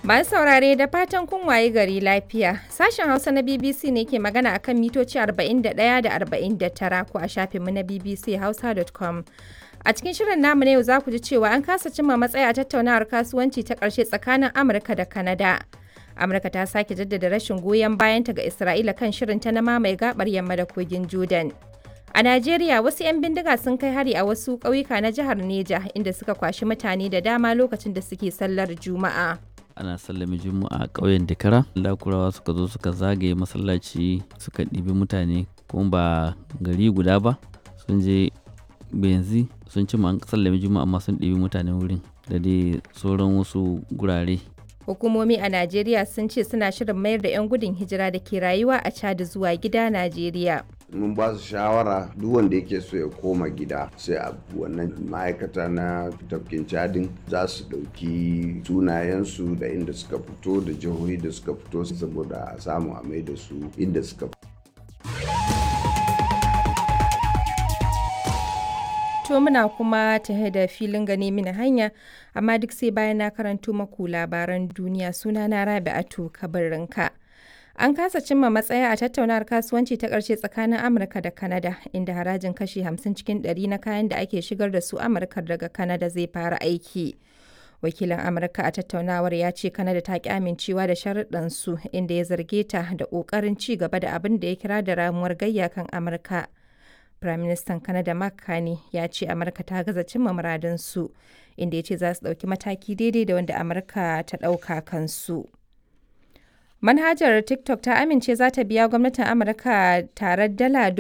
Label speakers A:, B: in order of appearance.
A: Masu saurare, da fatan kun waye gari lafiya. Sashen Hausa na BBC ne ke magana akan mitoci 41 da 49 ko a shafinmu na bbchausa.com. A cikin shirin namu na yau za ku ji cewa an kasa cimma matsaya a tattaunawar kasuwanci ta ƙarshe tsakanin Amurka da Kanada. Amurka ta sake jaddada rashin goyon bayanta ga Isra'ila kan shirinta na mamaye gabar yamma da kogin Jordan. A Najeriya, wasu 'yan bindiga sun kai hari a wasu ƙauyuka na jihar Neja, inda suka kwashi mutane da dama lokacin da suke sallar Juma'a.
B: Ana sallame Juma'a a ƙauyen Dakara, Lakurawa suka zo suka zagaye masallaci, suka ɗibi mutane, kuma ba gari guda ba. Sun je benzi sun ci an sallame Juma'a, amma sun ɗibi mutane wurin da dai sauran wasu gurare.
A: Hukumomi a Najeriya sun ce suna shirin mayar da 'yan gudun hijira da ke rayuwa a Chad zuwa gida Najeriya.
C: Mun ba su shawara, duk wanda yake so ya koma gida, sai a wannan ma'aikata na tafkin Chadin za su ɗauki sunayensu da inda suka fito da jihohi da suka fito, saboda a samu a mai da su inda suka fito.
A: To, muna kuma tahe da filin gane mini hanya, amma duk sai bayan na karanto maku labaran duniya. Suna na Rabi'atu Kabarinka. An kasa cimma matsaya a tattaunawar kasuwanci ta ƙarshe tsakanin Amurka da Kanada, inda harajin kashi 50 cikin 100 na kayan da ake shigar da su Amurka daga Kanada zai fara aiki. Wakilin Amurka a tattaunawar ya ce Kanada ta ki amincewa da sharuɗan su, inda ya zarge ta da ƙoƙarin ci gaba da abin da ya kira da ramuwar gayya kan Amurka. Firaministan Kanada Mark Carney ya ce Amurka ta gaza cimma muradunsu, inda ya ce za su ɗauki mataki daidai da wanda Amurka ta ɗauka kansu. Manhajar TikTok ta amince za ta biya gwamnatin Amurka tarar dala